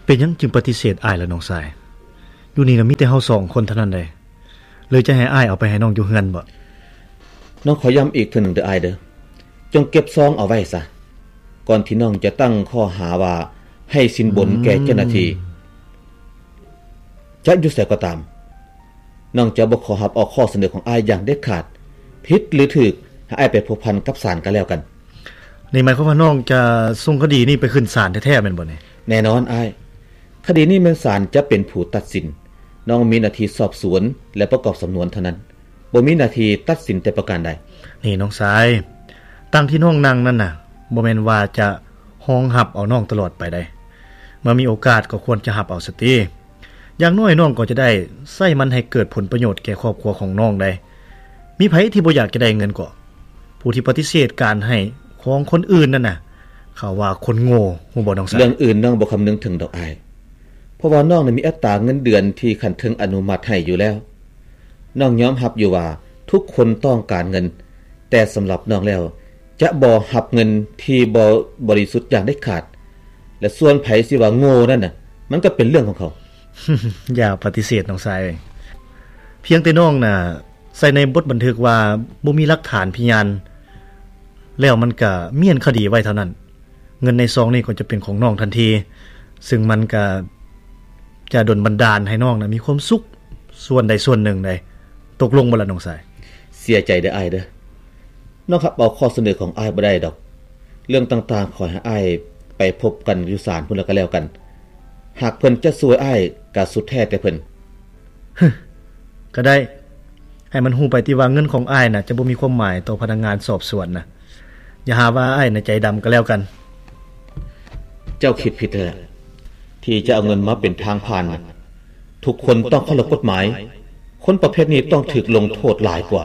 ເປັນຫຍັງຈຶ່ງປະຕິເສດອ້າຍລະນ້ອງຊາຍ? ຢູ່ນີ້ນະມີແຕ່ເຮົາສອງຄົນເທົ່ານັ້ນໃດ໋ ຫຼືຈະໃຫ້ອ້າຍເອົາໄປໃຫ້ນ້ອງຢູ່ເຮືອນບໍ? ນ້ອງຂໍຢ້ຳອີກເທື່ອໜຶ່ງເດີອ້າຍເດີ, ຈົ່ງເກັບຊອງເອົາໄວ້ຊະ ກ່ອນທີ່ນ້ອງຈະຕັ້ງຂໍ້ຫາວ່າໃຫ້ສິນບົນແກ່ເຈົ້າໜ້າທີ່. ຈະຢູ່ໃສກໍຕາມ, ນ້ອງຈະບໍ່ຂໍຮັບເອົາຂໍ້ສະເໜີຂອງອ້າຍຢ່າງເດັດຂາດ. ຜິດຫຼືຖືກ, ໃຫ້ອ້າຍໄປພົວພັນກັບສານກໍແລ້ວກັນ. ນີ້ໝາຍຄວາມວ່ານ້ອງຈະສົ່ງຄະດີນີ້ໄປຂຶ້ນສານແທ້ໆແມ່ນບໍ່ນີ້? ແນ່ນອນອ້າຍ, ຄະດີນີ້ແມ່ນສານຈະເປັນຜູ້ຕັດສິນ. ນ້ອງມີໜ້າທີ່ສອບສວນ ແລະ ປະກອບສຳນວນເທົ່ານັ້ນ, ບໍ່ມີໜ້າທີ່ຕັດສິນແຕ່ປະການໃດ. ນີ້ນ້ອງຊາຍ, ຕັ່ງທີ່ນ້ອງນັ່ງນັ້ນນະ ບໍ່ແມ່ນວ່າຈະຮອງຮັບເອົານ້ອງຕະຫຼອດໄປໃດ໋. ເມື່ອມີໂອກາດກໍຄວນຈະຮັບເອົາສະຕິ. ຢ່າງໜ້ອຍນ້ອງກໍຈະໄດ້ໃຊ້ມັນໃຫ້ເກີດຜົນປະໂຫຍດແກ່ຄອບຄົວຂອງນ້ອງໄດ໋. ມີໃຜທີ່ບໍ່ຢາກຈະໄດ້ເງິນກໍ? ຜູ້ທີ່ປະຕິເສດການໃຫ້ຂອງຄົນອື່ນນັ້ນນະ ເຂົາວ່າຄົນໂງ່, ຮູ້ບໍ່ນ້ອງຊາຍ? ເລື່ອງອື່ນນ້ອງບໍ່ຄຳນຶງເຖິງດອກອ້າຍ, ເພາະວ່ານ້ອງນັ້ນມີອັດຕາເງິນເດືອນທີ່ຂັ້ນເທິງອະນຸມັດໃຫ້ຢູ່ແລ້ວ. ນ້ອງຍອມຮັບຢູ່ວ່າທຸກຄົນຕ້ອງການເງິນ, ແຕ່ສຳລັບນ້ອງແລ້ວ ຈະບໍ່ຮັບເງິນທີ່ບໍ່ບໍລິສຸດຢ່າງເດັດຂາດ. ແລະ ສ່ວນໃຜຊິວ່າໂງ່ນັ້ນນະ ມັນກໍເປັນເລື່ອງຂອງເຂົາ. ຢ່າປະຕິເສດນ້ອງຊາຍເອີຍ, ພຽງແຕ່ນ້ອງນະໃສ່ໃນບົດບັນທຶກວ່າບໍ່ມີຫຼັກຖານພະຍານ ແລ້ວມັນກະມ້ຽນຄະດີໄວ້ເທົ່ານັ້ນ. ເງິນໃນຊອງນີ້ກໍຈະເປັນຂອງນ້ອງທັນທີ, ຊຶ່ງມັນກະຈະດົນບັນດານໃຫ້ນ້ອງນະມີຄວາມສຸກສ່ວນໃດສ່ວນໜຶ່ງໄດ໋. ຕົກລົງບໍ່ລະນ້ອງຊາຍ? ເສຍໃຈເດີອ້າຍເດີ, ນ້ອງຮັບເອົາຂໍ້ສະເໜີຂອງອ້າຍບໍ່ໄດ້ດອກ. ເລື່ອງຕ່າງໆ ຂໍໃຫ້ອ້າຍໄປພົບກັນຢູ່ສານພຸ້ນລະກໍແລ້ວກັນ. ຫາກເພິ່ນຈະຊ່ວຍອ້າຍກໍສຸດແທ້ແຕ່ເພິ່ນ. ຮຶ, ກໍໄດ້. ໃຫ້ມັນຮູ້ໄປຕິວ່າເງິນຂອງອ້າຍນະຈະບໍ່ມີຄວາມໝາຍຕໍ່ພະນັກງານສອບສວນນະ. ຢ່າຫາວ່າອ້າຍນະໃຈດຳກໍແລ້ວກັນ. ເຈົ້າຄິດຜິດແລ້ວ ທີ່ຈະເອົາເງິນມາເປັນທາງຜ່ານ. ທຸກຄົນຕ້ອງເຄົາລົບກົດໝາຍ. ຄົນປະເພດນີ້ຕ້ອງຖືກລົງໂທດຫຼາຍກວ່າ.